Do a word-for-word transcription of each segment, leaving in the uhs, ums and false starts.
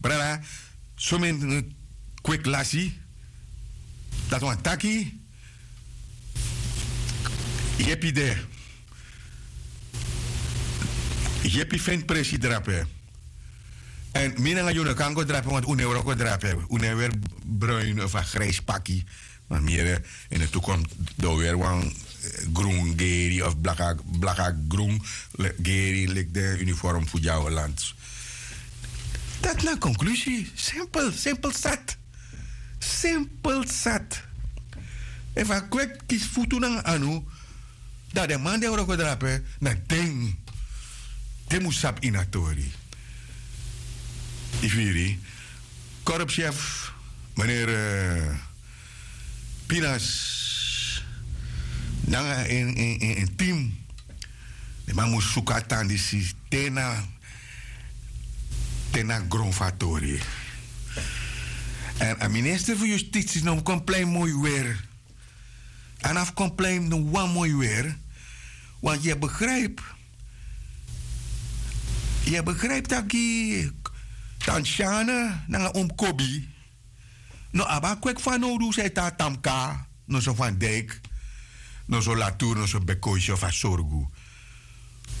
Brada, someni kweki lasi. Dati wani taki yepi de. Yepi feni presi drape. Èn mi nanga yu no kan go drape want un no e wroko drape, un no e weri bruin of a grijsi paki. Ma mi yere ini de tukomsi den o weri wan grun geri of blaka grun geri leki den uniform fu dyaholand. Dati na a konklusi. Simpel simpel sat. Simpel sat. Efu a kweki kisi futu nanga anu, dan den man di e wroko drape na den den mus sabi ini a tori. Yu firi? Korpschef, meneri pinas nanga en tim. Den man mus suku a tan disi te na te na gron fu a tori. Èn a minister fu yustitsi no mus kon plein moi weri. A no abi kon plein no wan moi weri. Want yu e begripi yu e begripi taki tanti syane nanga omi kobi no abi a kweki fanowdu san e tan na tamka, noso van dijk, noso latour, noso bekoisi of a sorgu.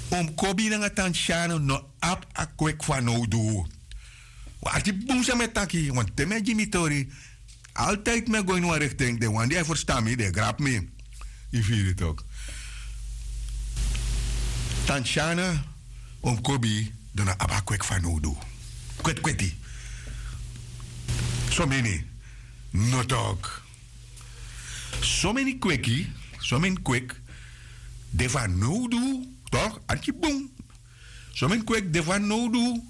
Omi kobi nanga tanti syane no abi a kweki fanowdu. Wan arti bun san mi e taki want te mi e gi mi tori, altijdi mi e go ini wan rikting den wan di e ferstan mi den e grapu mi. Yu firi tok? Tanti syane, omi kobi, den no abi a kweki fanowdu. Kweti kweti. Someni no tok. Someni kweki, someni kweki de fanowdu. Tok arki bun. Someni kweki de fanowdu.